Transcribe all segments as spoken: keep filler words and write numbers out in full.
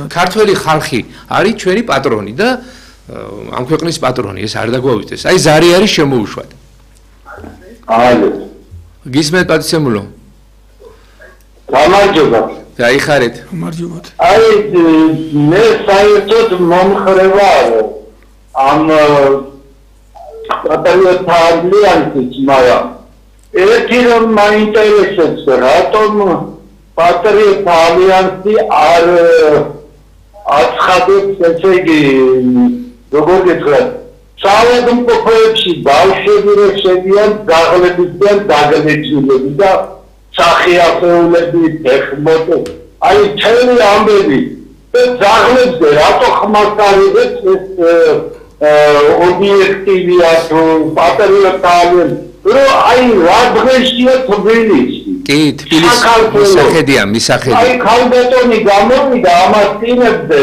ქართველი ხალხი არის ჩვენი პატრონი და ამ ქვეყნის პატრონი, ეს არ დაგვაუწეს. აი ზარი არის შემოუშვად. ალო. გისმენთ პატიცემულო? გამარჯობა. გაიხარეთ. გამარჯობათ. აი მე საერთოდ მომხრევა ამ პატრიოტთა ალიანსის, მაგრამ ერთი რომ მაინტერესებს, რატომ პატრიოტთა ალიანსი არ აცხადებს, ესე იგი, როგორ გითხრათ, საავადმყოფოებში ბავშვები რო შედიან, ძაღლებიდან დაგლეჭილები და სახიახეულები, ფეხბურთი, აი მთელი ამბები და ძაღლებზე რატო ხმას არიღებს ეს ობიექტივია თუ პატრიოტთა ალიანსი, რომ აი რა დღეშია თბილისში. კი, თბილისში მისახედია, მისახედია. აი ქალბატონი გამოვიდა ამას წინებზე,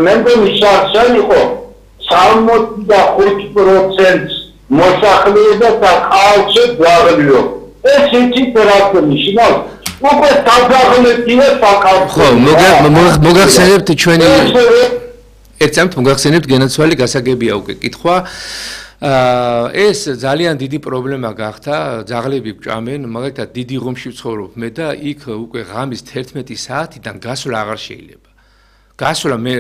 მე მგონი შარშან იყო სამოცი და ხუთი პროცენტი მოსახლეობა საკალჩე ძაღლიო. ეს იცით რა ნიშნავს? უკვე საძაღლეთია საკალჩე. ხო, მოგახსენებთ ჩვენი ერთად მოგახსენებთ გენაცვალი გასაგებია უკვე კითხვა. ეს ძალიან დიდი პრობლემა გახდა, ძაღლები გვჭამენ, მაგალითად დიდი ღომში ვცხოვრობ მე და იქ უკვე ღამის თერთმეტი საათიდან გასვლა აღარ შეიძლება. გასვლა მე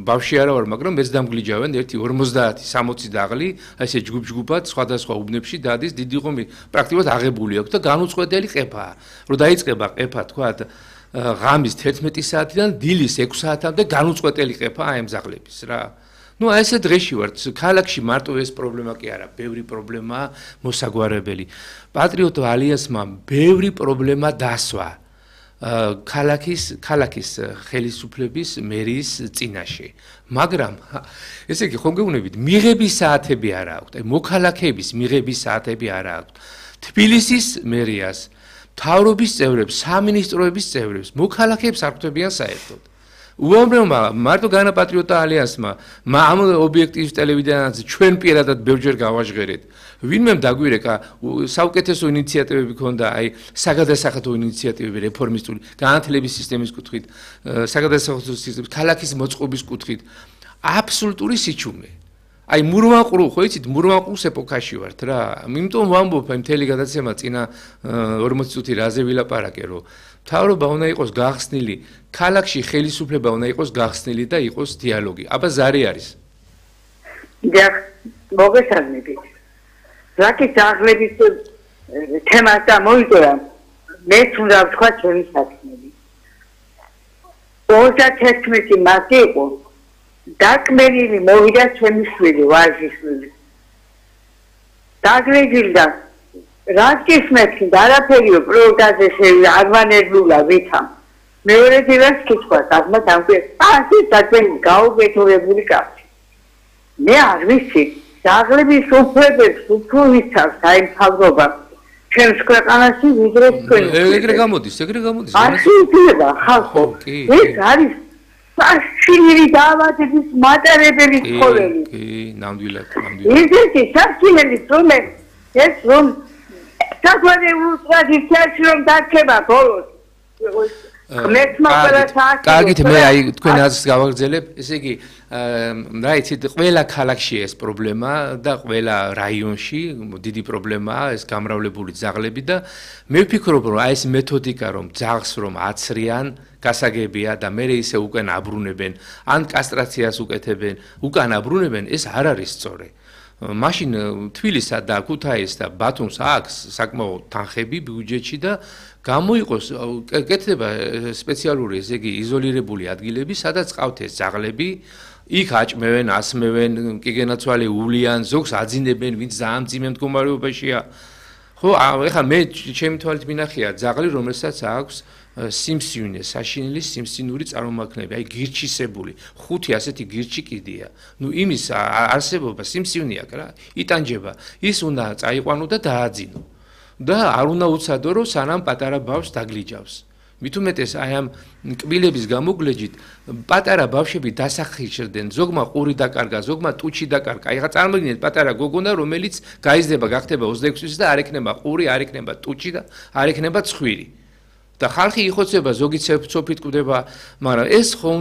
ბავშვი არა ვარ, მაგრამ მეც დამგლიჯავენ ერთი ორმოცდაათი სამოცი ძაღლი, ესე ჯგუფ-ჯგუფად სხვადასხვა უბნებში დადის, დიდი ღომი პრაქტიკულად აღებული აქვს და განუწყვეტელი ყეფაა. რომ დაიწყება ყეფა, თქვათ, ღამის თერთმეტი საათიდან დილის ექვს საათამდე განუწყვეტელი ყეფა აი ამ ძაღლების რა. Ну, а ესე დღეში ვართ, ქალაქში მარტო ეს პრობლემა კი არა, ბევრი პრობლემაა მოსაგვარებელი. პატრიოტთა ალიანსმა ბევრი პრობლემა დასვა ქალაქის ქალაქის ხელისუფლების მერის წინაშე. მაგრამ ესე იგი ხომ გეუბნებით, მიღების საათები არ აქვთ, აი მოქალაქეების მიღების საათები არ აქვთ. თბილისის მერიას, მთავრობის წევრებს, სამინისტროების წევრებს, მოქალაქეებს არ ხვდებიან საერთოდ. უამრავმა მარტო განა პატრიოტთა ალიანსმა ამ ობიექტივის ტელევიზიაზე ჩვენ პირადად ბევრჯერ გავაჟღერეთ. ვინმე დაგვირეკა საუკეთესო ინიციატივები ქონდა, აი საგადასახადო ინიციატივები რეფორმისტული, განათლების სისტემის კუთხით, საგადასახადო სისტემის, ქალაქის მოწყობის კუთხით, აბსოლუტური სიჩუმე. აი მურვანყრუ, ხო იცით, მურვანყრუს ეპოქაში ვართ რა. იმიტომ ვამბობ, აი მთელი გადაცემა წინა ორმოცი წუთი რაზე ვილაპარაკე, რომ მთავრობა უნდა იყოს გახსნილი, ქალაქში ხელისუფლება უნდა იყოს გახსნილი და იყოს დიალოგი. აბა ზარი არის. დიახ, მოგესალმებით. რაკი ძაღლების თემას დამოიწერა, მეც უნდა ვთქვა ჩემი საქმეები. ოცდათერთმეტი მარტი იყო, დაკმენილი მოვიდა ჩემი შვილი, ვაჟის შვილი. დაგლეჯილდა რაკის მეცი არაფერიო პროდაზე შეგვარვანებულა ვითამ. მეორე დილას კითხვა, აღმა დამკვე, ასე საქმე გაუგეთურებული კაცი. მე არ ვიცი, ძაღლების უფლებებს უფრო ვიცავს აი მთავრობა. ჩვენს ქვეყანაში ვიდრე თქვენ. ეგრე გამოდის, ეგრე გამოდის. ასე ითვლება ხალხო. ეს არის საშინელი დაავადების მატარებელი ცხოველი. კი, ნამდვილად, ნამდვილად. ისეთი საშინელი ცხოველი, ეს რომ საგვარეულო ტრადიციაში რომ დარჩება ბოლოს. კარგით, მე აი თქვენ აზრს გავაგრძელებ, ესე იგი, რა იცით, ყველა ქალაქში ეს პრობლემა და ყველა რაიონში დიდი პრობლემაა ეს გამრავლებული ძაღლები და მე ვფიქრობ, რომ აი ეს მეთოდიკა რომ ძაღლს რომ აცრიან, გასაგებია და მე ისე უკან აბრუნებენ, ან კასტრაციას უკეთებენ, უკან აბრუნებენ, ეს არ არის სწორი. მაშინ თბილისსა და ქუთაისს და ბათუმს აქვს საკმაოდ თანხები ბიუჯეტში და გამოიყოს კეთდება სპეციალური, ესე იგი, იზოლირებული ადგილები, სადაც ყავთ ეს ძაღლები, იქ აჭმევენ, ასმევენ, კიგენაცვალე უვლიან, ზოგს აძინებენ, ვინც ძალიან მძიმე მდგომარეობაშია. ხო, ეხლა მე ჩემი თვალით მინახია ძაღლი, რომელსაც აქვს სიმსივნე, საშინელი სიმსივნური წარმომადგენლები, აი გირჩისებული, ხუთი ასეთი გირჩი კიდია. ნუ იმის არსებობა სიმსივნე აქვს რა, იტანჯება. ის უნდა წაიყვანო და დააძინო. და არ უნდა უცადო, რომ სანამ პატარა ბავშვს დაგლიჯავს. მით უმეტეს აი ამ კბილების გამოგლეჯით პატარა ბავშვები დასახიჭრდნენ, ზოგმა ყური დაკარგა, ზოგმა ტუჩი დაკარგა. აი ხა წარმოგიდგენთ პატარა გოგონა, რომელიც გაიზრდება, გახდება ოცდაექვსი წლის და არ ექნება ყური, არ ექნება ტუჩი და არ ექნება ცხვირი. და ხალხი იხოცება, ზოგი ცოფით კვდება, მაგრამ ეს ხო უნდა